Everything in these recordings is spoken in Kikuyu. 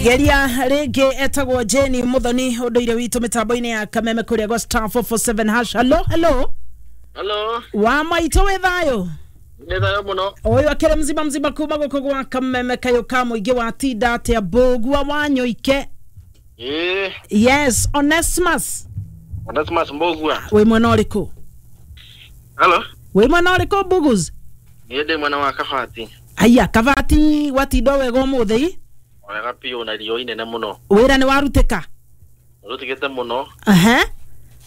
Geria rĩngĩ etagwo Jane Muthoni ũndũire witũ mĩtambo-inĩ ya Kameme kũrĩa gwa *447#. Hello, hello. Hello. Wa maitũ wĩ thayũ? Nĩ thayũ mũno. Ũyũ akĩrĩ mzima mzima kuma gũkũ gwa Kameme kayũ ka mũingĩ wa tinda atĩa Mbũgua wa Nyoike. Ĩĩ. Yes, Onesmus. Onesmus Mbũgua. Wĩ mwena ũrĩkũ? Hello. Wĩ mwena ũrĩkũ Mbugus? Niĩ ndĩ mwena wa Kabati. Aya, Kabati watinda wega ũmũthĩ? Wega biũ na riũa inene mũno. Wĩra nĩ warutĩka? Rũtigĩte mũno. Aha.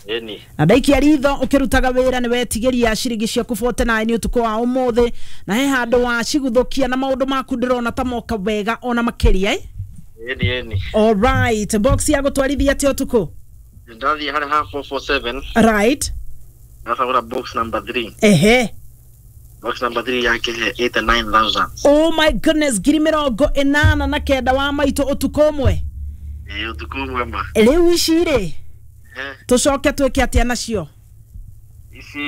Ĩni. Na ndaikia ritho ũkĩrutaga wĩra nĩ wetigĩria ciringi ciaku 49 ũtukũ wa ũmũthĩ na he handũ waciguthũkia na maũndũ maku ndĩrona ta moka wega ona makĩria eh? Ĩni ĩni. Alright, box ya gũtwarithia atĩa ũtukũ? Ndathiĩ harĩ ha 447. Right. Ndacagũra box number 3. Ehe. Box number 3 yakĩhe 89,000. Oh my goodness, 89,000 wa maitũ ũtukũ ũmwe. Ĩĩ ũtukũ ũmwe ma. Rĩu ici rĩ tũcoke twĩke atĩa nacio? Ici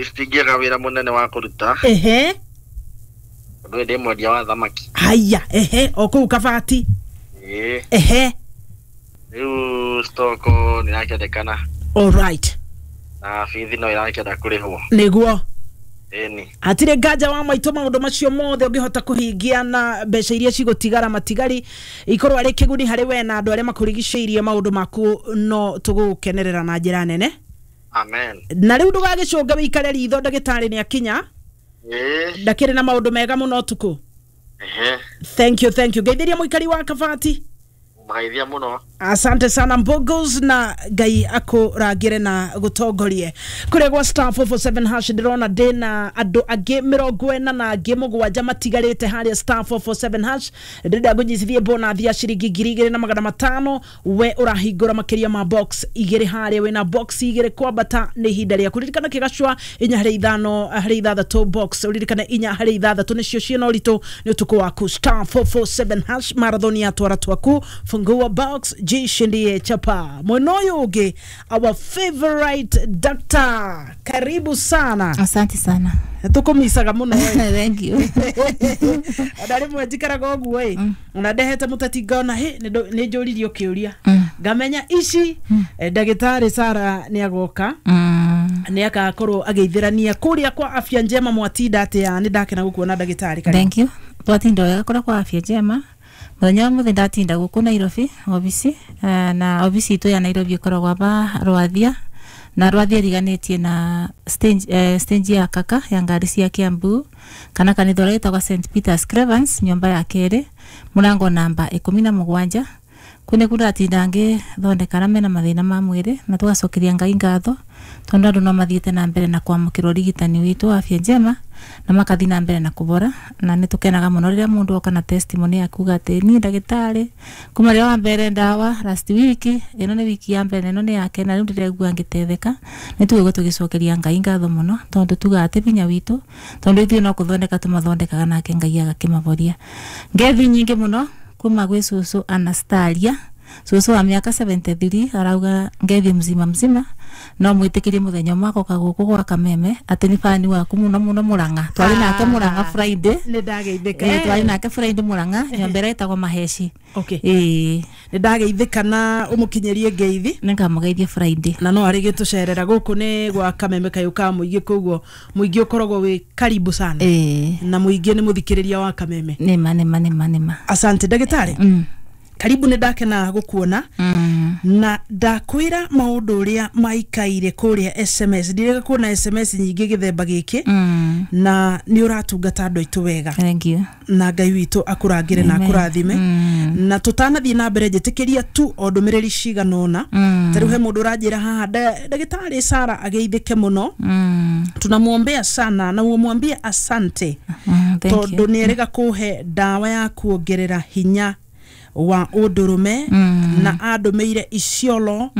citingĩaga wĩra mũnene wa kũruta. Ehe. Tondũ ndĩ mwendia wa thamaki. Haya, ehe, o kũu Kabati. Ĩĩ. Ehe. Rĩu stoko nĩ ĩrakĩendekana. Alright. Na bithi no ĩrakĩenda kũrĩhwo. Nĩguo. Ĩni. Hatirĩ nganja wa maitũ maũndũ macio mothe ũngĩhota kũhingia na mbeca iria cigũtigara matigari ikorwo arĩ kĩguni harĩ we na andũ arĩa makũrigicĩirie maũndũ maku no tũgũkenerera na njĩra nene. Amen. Na rĩu ndũgagĩcũnge wĩikare ritho ndagĩtarĩ nĩ akinya. Ĩĩ. Ndakĩrĩ na maũndũ mega mũno ũtukũ. Ehe. Thank you, thank you. Ngeithĩria mũikari wa Kabati. Mgaithia mũno. Asante sana Mbogos na Ngai akũrangĩre na gũtongorie. Kũrĩa gwa *447# ndĩrona ndĩna andũ angĩ 47 matigarĩte harĩa *447#. Ndĩrenda ngũnyitithie bonathi ya ciringi 2,500 we ũrahingũra makĩria ma box igĩrĩ harĩa wĩna box igĩrĩ kwambata nĩ ihinda rĩaku. Ririkana kĩgacwa 4 harĩ 5 harĩ 6 box ũririkane 4 harĩ 6 nĩcio ciĩna ũritũ nĩ ũtukũ waku. *447# marathon ya twara twaku fungua box jishindie chapa. Mwena ũyũ our favorite doctor, karibu sana. Asante sana. Tukumisaga muno. Thank you. Ona rĩmwe njikaraga ũguo ĩ ona ndehete mũteti ngona hĩ nĩ njũririo kĩũria ngamenya ici ndagĩtarĩ Sara nĩ agoka nĩ agakorwo agĩithĩrania kũrĩa kwa Afya Njema. Mwatinda atĩa? Nĩ ndakena gũkuona ndagĩtarĩ. Thank you. Twatinda wega kũrĩa kwa Afya Njema. Mũthenya wa mũthĩ ndatinda gũkũ Nairobi obici na obici itũ ya Nairobi ĩkoragwo aba Rwathia na Rwathia ĩriganĩtie na stage, stage ya Kaka ya ngari cia Kiambu kana kanitha ũrĩa wĩtagwo St Peter's Cravens nyũmba ya kerĩ mũrango namba 17. Kũu nĩkuo ndatinda ngĩthondekana mena mathĩna ma mwĩrĩ na tũgacokeria Ngai ngatho tondũ andũ no mathiĩte na mbere na kwamũkĩra ũrigitani witũ wa Afya Njema na makathi na mbere na kũbora na nĩ tũkenaga mũno rĩrĩa mũndũ oka na testimony ya kuga atĩ niĩ ndagĩtarĩ kuma rĩrĩa wa mbere ndawa last week ĩno nĩ wiki ya mbere ĩno nĩ yake na rĩu ndĩraigua ngĩtetheka. Nĩ tũigua tũgĩcokeria Ngai ngatho mũno tondũ tugaga atĩ binya witũ tondũ ithuĩ no kũthondeka tũmathondekaga nake Ngai agakĩmaboria. Ngethi nyingĩ mũno kuma gwĩ cũcũ Anastaria, cũcũ wa mĩaka 73 arauga ngethi mzima mzima no mwĩtĩkĩrie mũthenya ũmwe agoka gũkũ gwa Kameme atĩ nĩ bani waku mũno mũno Mũrang'a. Twarĩ nake Mũrang'a Friday. Nĩ ndageithĩka. Twarĩ nake Friday Mũrang'a nyũmba ĩrĩa ĩtagwo Maheci. Okay. Nĩ ndageithĩka na ũmũkinyĩrie ngeithi. Nĩ ngamũgeithia Friday. Na no arĩ gĩtũcerera gũkũ nĩ gwa Kameme kayũ ka mũingĩ koguo mũingĩ ũkoragwo wĩ karibu sana. Na mũingĩ nĩ mũthikĩrĩria wa Kameme. Nĩma nĩma nĩma nĩma. Asante ndagĩtarĩ. Karibu nĩ ndakena gũkuona na ndakwĩra maũndũ ũrĩa maikaire kũrĩa SMS. Ndirega kuona SMS nyingĩ gĩthemba gĩkĩ na nĩ ũratungata andũ aitũ wega. Thank you. Na Ngai witũ akũrangĩre na akũrathime. Na tũtanathiĩ na mbere njĩtĩkĩria tu o ndũmĩrĩri cigana ũna. Ta rĩu he mũndũ ũranjĩra haha ndagĩtarĩ Sara ageithĩke mũno. Tunamwombea sana na umwambie asante tondũ nĩ erĩga kũhe ndawa ya kuongerera hinya wa ũndũrũme na andũmĩire Isiolo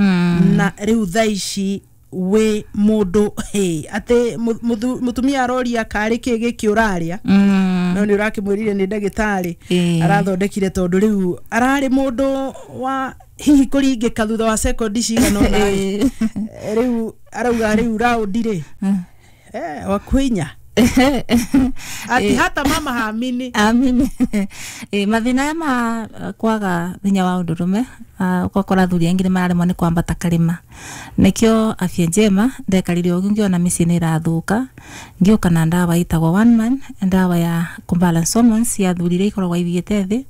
na rĩu thaa ici wĩ mũndũ atĩ mũtumia aroria karĩ kĩ gĩkĩ ũrarĩa no nĩ ũrakĩmwĩrire nĩ ndagĩtarĩ arathondekire tondũ rĩu ararĩ mũndũ wa hihi kũringĩka thutha wa sekondi cigana ũna rĩu arauga rĩu raundi rĩ wakuinya. Ati hata mama haamini. Amini. Mathina aya ma kwaga hinya wa undurume, ugakora athuri aingĩ nĩ mararemwo nĩ kwambata karĩma. Nĩkĩo Afya Njema ndekarire ũguo ngĩona mĩciĩ nĩ ĩrathũka, ngĩũka na ndawa ĩtagwo One Man, ndawa ya kũbalance hormones cia athuri iria ikoragwo ithiĩte thĩ,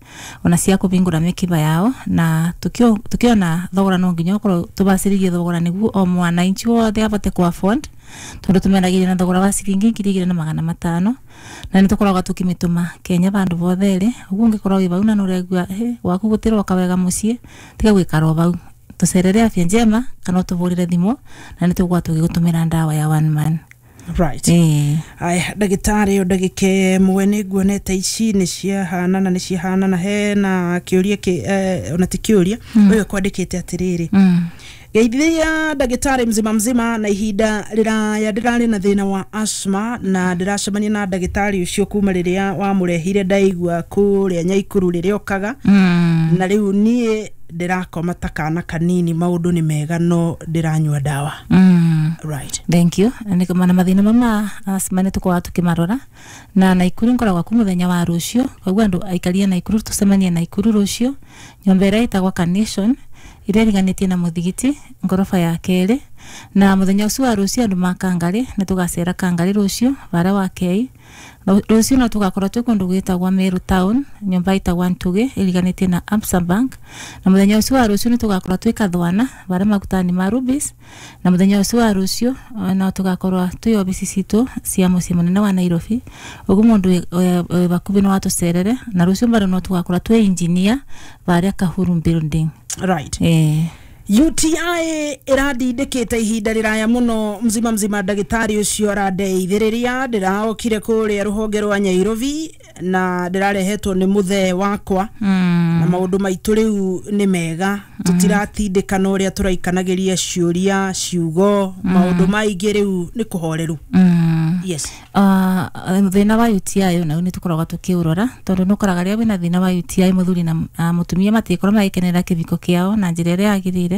ona cia kũbingũra mĩkiba yao, na tukiona thogora no nginya ũkorwo tũbacĩrĩrie thogora nĩguo o mwananchi wothe abote kũ afford, tondu tumendagiria na thogora wa ciringi 2500, na nĩ tũkoragwo tũkĩmĩtũma Kenya vandũ vothe rĩ. Ũguo ũngĩkorwo wĩ vau na nĩũraigua gwaku gũtiroka wega mũciĩ, tiga gũikara o vau, tũcerere Afya Njema kana ũtũbũrĩre thimũ na nĩ tũgũkorwo tũgĩgũtũmĩra ndawa ya One Man. Right. Aya ndagĩtarĩ, o ndagĩka ĩmwe nĩ nguonete ici nĩ ciahanana, nĩ ciahanana. Hena kĩũria ona ti kĩũria, ũyũ kwandĩkĩte atĩrĩrĩ: geithia ndagĩtarĩ mzima mzima, na ihinda rĩraya ndĩrarĩ na thĩna wa asthma na ndĩracemania na ndagĩtarĩ ũcio kuma rĩrĩa wamũrehire, ndaigua kũrĩa Nyaikuru rĩrĩa okaga, na rĩu niĩ ndĩrakoma ta kana kanini, maũndũ nĩ mega no ndĩranyua ndawa. Right. Thank you. Nĩ na mathĩna mama asthma nĩ tũkoragwo tũkĩmarora na Naikuru ngoragwo ku mũthenya wa rũciũ, koguo andũ aikaria Naikuru tũcemanie Naikuru rũciũ nyũmba ĩrĩa ĩtagwo Carnation ĩrĩa ĩriganĩtie na mũthigiti ngoroba ya kerĩ. Na mũthenya ũcio wa rũciũ andũ ma Kangarĩ nĩ tũgacera Kangarĩ rũciũ bara wa Kei. Rũciũ no tũgakorwo twĩ kũndũ gwĩtagwo Meru Town, nyũmba ĩtagwo Ntugĩ ĩriganĩtie na Absa Bank. Na mũthenya ũcio wa rũciũ nĩ tũgakorwo twĩ Kathwana bara magutani ma Rubis. Na mũthenya ũcio wa rũciũ no tũgakorwo twĩ obici citũ cia mũciĩ mũnene wa Nairobi, ũguo mũndũ wĩ bakubĩ no atũcerere. Na rũciũ bado no tũgakorwo twĩ engineer barĩa Kahuru Building. Right. UTI ĩrandindĩkĩte ihinda rĩraya mũno mzima mzima, ndagĩtarĩ ũcio arandeithĩrĩria, ndĩraokire kũrĩa rũhonge rwa Nyairobi na ndĩrarehetwo nĩ mũthee wakwa, na maũndũ maitũ rĩu nĩ mega, tũtiratindĩkana ũrĩa tũraikanagĩria ciũria ciugo, maũndũ maingĩ rĩu nĩ kũhoreru. Yes. Thĩna wa UTI nau nĩ tũkoragwo tũkĩũrora, tondũ nĩ ũkoraga rĩrĩa wĩna thĩna wa UTI mũthuri na mũtumia matikorwo magĩkenera kĩbiko kĩao na njĩra ĩrĩa yagĩrĩire.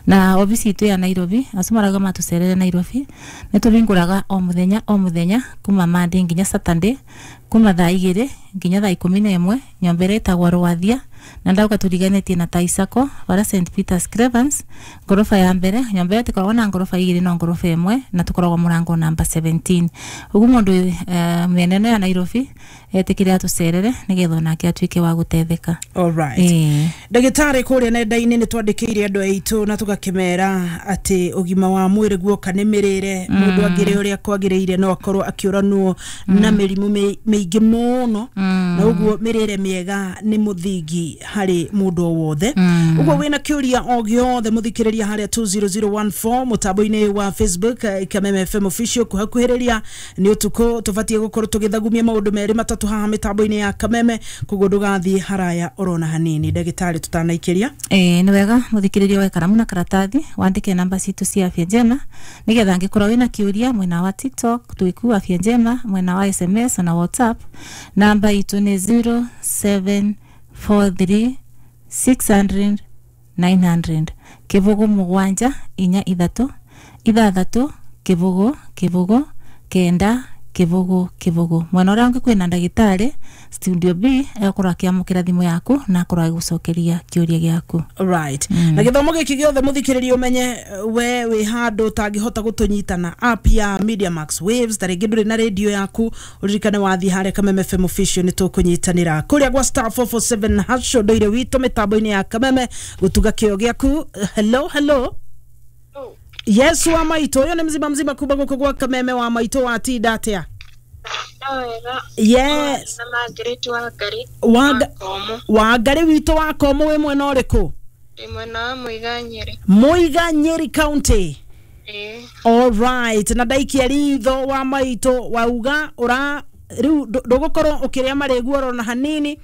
Na obici itũ ya Nairobi, acio marauga matũcerere Nairobi, nĩ tũhingũraga o mũthenya o mũthenya kuma Monday nginya Saturday, kuma thaa 2 nginya thaa 11, nyũmba ĩrĩa ĩtagwo Rwathia, na ndauga tũriganĩtie na Taisako bara St Peter's Cravens, ngoroba ya mbere. Nyũmba ĩyo tũkoragwo na ngoroba 2 no ngoroba 1, na tũkoragwo mũrango namba 17. Ũguo mũndũ mĩena ĩno ya Nairobi etĩkĩre atũcerere nĩgetha onake atuĩke wa gũteithĩka. All right. Ndagĩtarĩ, kũrĩa nenda-inĩ nĩ twandĩkĩire andũ aitũ na tũgakĩmera atĩ ũgima wa mwĩrĩ guoka nĩ mĩrĩre, mũndũ angĩrĩa ũrĩa kwagĩrĩire no akorwo akĩũranwo na mĩrimũ mĩingĩ mũno, na ũguo mĩrĩre mĩega nĩ mũthingi harĩ mũndũ o wothe. Ũguo wĩna kĩũria o gĩothe mũthikĩrĩria harĩa 20014 mũtambo-inĩ wa Facebook, Kameme FM official. Kũhakuhĩrĩria nĩ ũtukũ, tũbatiĩ gũkorwo tũgĩthagumia maũndũ merĩ matatũ haha mĩtambo-inĩ ya Kameme, koguo ndũgathiĩ haraya orona hanini. Ndagĩtarĩ, tũtanaikĩria. Nĩ wega mũthikĩrĩria wa karamu na karatathi wandĩke namba citũ cia Afya Njema, nĩgetha angĩkorwo wĩna kĩũria mwena wa TikTok twĩku Afya Njema, mwena wa SMS na WhatsApp namba itũ nĩ 0743 600 900, 0 7 4 3 6 0 0 9 0 0. Mwena ũrĩa ũngĩ kwĩna ndagĩtarĩ studio B egũkorwo akĩamũkĩra thimũ yaku na akorwo agĩgũcokeria kĩũria gĩaku. Right. Na gĩthomo gĩkĩ gĩothe mũthikĩrĩria ũmenye we wĩ handũ ũtangĩhota gũtũnyita na app ya Media Max Waves, ta rĩngĩ ndũrĩ na radio yaku, ũririkane wathiĩ harĩa Kameme FM official nĩ tũkũnyitanĩra kũrĩa gwa star 447 hash ũndũire witũ mĩtambo-inĩ ya Kameme gũtuga kĩo gĩaku. Hello, hello. Yes, wa maitũ, ũyũ nĩ mzima mzima kuma gũkũ gwa Kameme. Wa maitũ, watinda atĩa? Yes. Wangari witũ wa Komo, wĩ mwena ũrĩkũ? Mwena wa Muiga Nyeri. Muiga Nyeri County. All right. Na ndaikia ritho wa maitũ, wauga ũra rĩu ndũgũkorwo ũkĩrĩa marĩgu oro na hanini.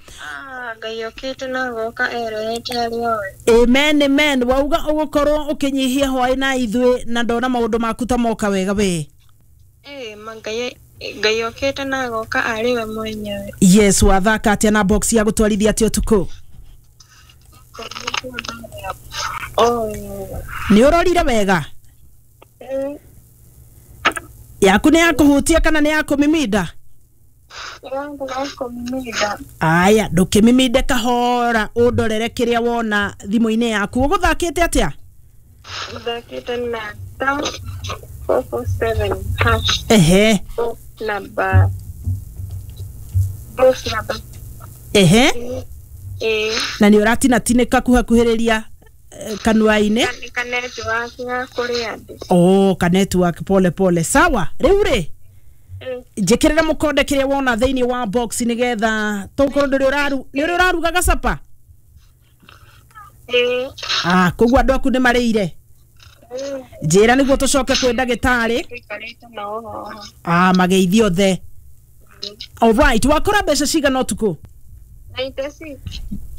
Ngai okĩte na goka eroete harĩ owe. Amen, amen. Wauga ũgũkorwo ũkĩnyihia hwaĩ na ithuĩ, na ndona maũndũ maku ta moka wega we. Ngai okĩte na goka arĩ we mwenyewe. Yes, wathaka atĩa na box ya gũtwarithia atĩa ũtukũ? Nĩ ũrorire wega? Yaku nĩ ya kũhutia kana nĩ ya kũmiminda? Yangu ya kũmimida. Aya, ndũkĩmiminde kahora ũndorere kĩrĩa wona thimũ-inĩ yaku. Ũgũthakĩte atĩa? Mũthakĩte na star 447 hash. Ehe. Box number. Box number. Ehe. Ĩĩ. Na nĩ ũratinatinĩka kuhakuhĩrĩria kanua-inĩ. Ka network ya kũrĩa ndĩ. Oh, ka network, pole pole. Sawa, rĩu rĩ, njĩkĩrĩra mũkonde kĩrĩa wona thĩinĩ wa box nĩgetha tũkorwo ndũrĩ ũraru nĩ ũrĩ ũrarugaga capa? Ĩĩ. Ah, koguo andũ aku nĩ marĩire. Njĩra nĩguo tũcoke kwĩ ndagĩtarĩ. Tũikarĩte nao haha. Ah, mageithio othe. Alright, wakora mbeca cigana ũtukũ? 96.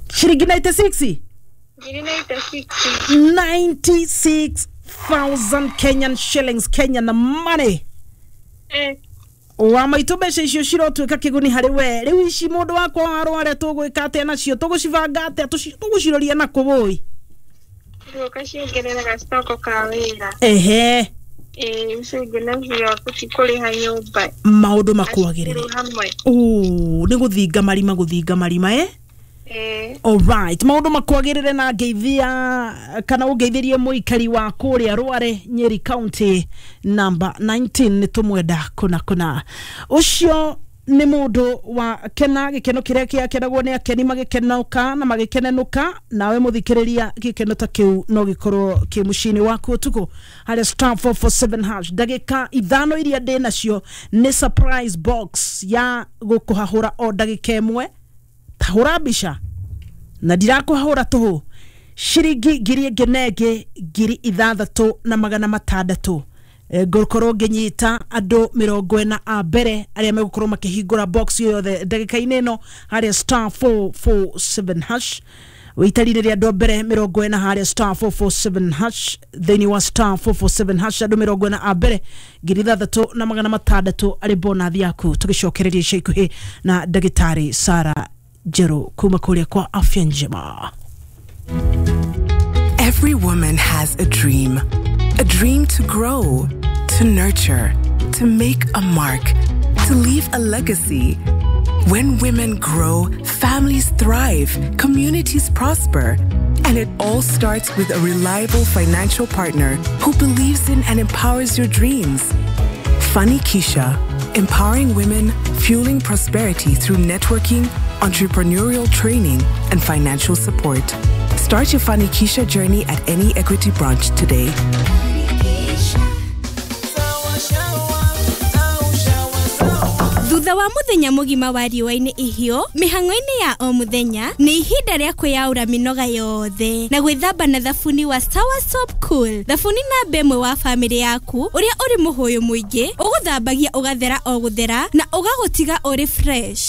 Ciringi 96? Ngiri 96. 96,000 Kenyan shillings, Kenyan money. Wa maitũ, mbeca icio cirotuĩka kĩguni harĩ we. Rĩu ici mũndũ wakwa warware tũgwĩka atĩa nacio? Tũgũcibanga atĩa? Tũgũciroria na kũ wũi? Ũgaciongerera gacitoko ka wĩra. Ehe. Ĩĩ, icio ingĩ nacio tũtikũrĩha nyũmba. Maũndũ makwagĩrĩre. Cukuru hamwe. Ũ, nĩ gũthinga marima, gũthinga marima, eh? Ĩĩ. Alright, maũndũ makwagĩrĩre na ngeithia kana ũngeithĩrie mũikari wa kũrĩa Rware, Nyeri County number 19. Nĩ tũmwenda kũna kũna. Ũcio nĩ mũndũ wa kena gĩkeno kĩrĩa kĩakenagwo nĩ akeni magĩkenoka na magĩkenenũka. Nawe mũthikĩrĩria, gĩkeno ta kĩu no gĩkorwo kĩ mũciĩ-inĩ waku ũtukũ harĩa star 447 hash. Ndagĩka 5 iria ndĩ nacio nĩ surprise box ya gũkũhahũra o ndagĩka ĩmwe. Tahũra mbica na ndirakũhahũra tũhũ, ciringi 1000 na ĩngĩ 6600. Ngũkorwo ngĩnyita andũ 40 a mbere arĩa megũkorwo makĩhingũra box yothe ndagĩka-inĩ ĩno harĩa star 447 hash. Wĩitarire rĩa andũ a mbere 40 harĩa star 447 hash. Thĩinĩ wa star 447 hash, andũ 40 a mbere, 6600 arĩ bonathi yaku. Tũgĩcokereria ica ikuhĩ na ndagĩtarĩ Sara Njerũ kuma kũrĩa kwa Afya Njema. Every woman has a dream. A dream to grow, to nurture, to make a mark, to leave a legacy. When women grow, families thrive, communities prosper. And it all starts with a reliable financial partner who believes in and empowers your dreams. Funny Keisha, empowering women, fueling prosperity through networking, entrepreneurial training, and financial support. Start your Funny Keisha journey at any Equity branch today. Thutha wa muthenya mugima wa riũa-inĩ ihiũ mĩhang'o-inĩ ya o mũthenya, nĩ ihinda rĩa kwĩyaũra mĩnoga yothe na gwĩthamba na thabuni wa Sawa Soap Cool, thabuni namba ĩmwe wa bamĩrĩ yaku, ũrĩa ũrĩ mũhũyũ mũingĩ ũgũthambagia ũgathera o gũthera na ũgagũtiga ũrĩ fresh.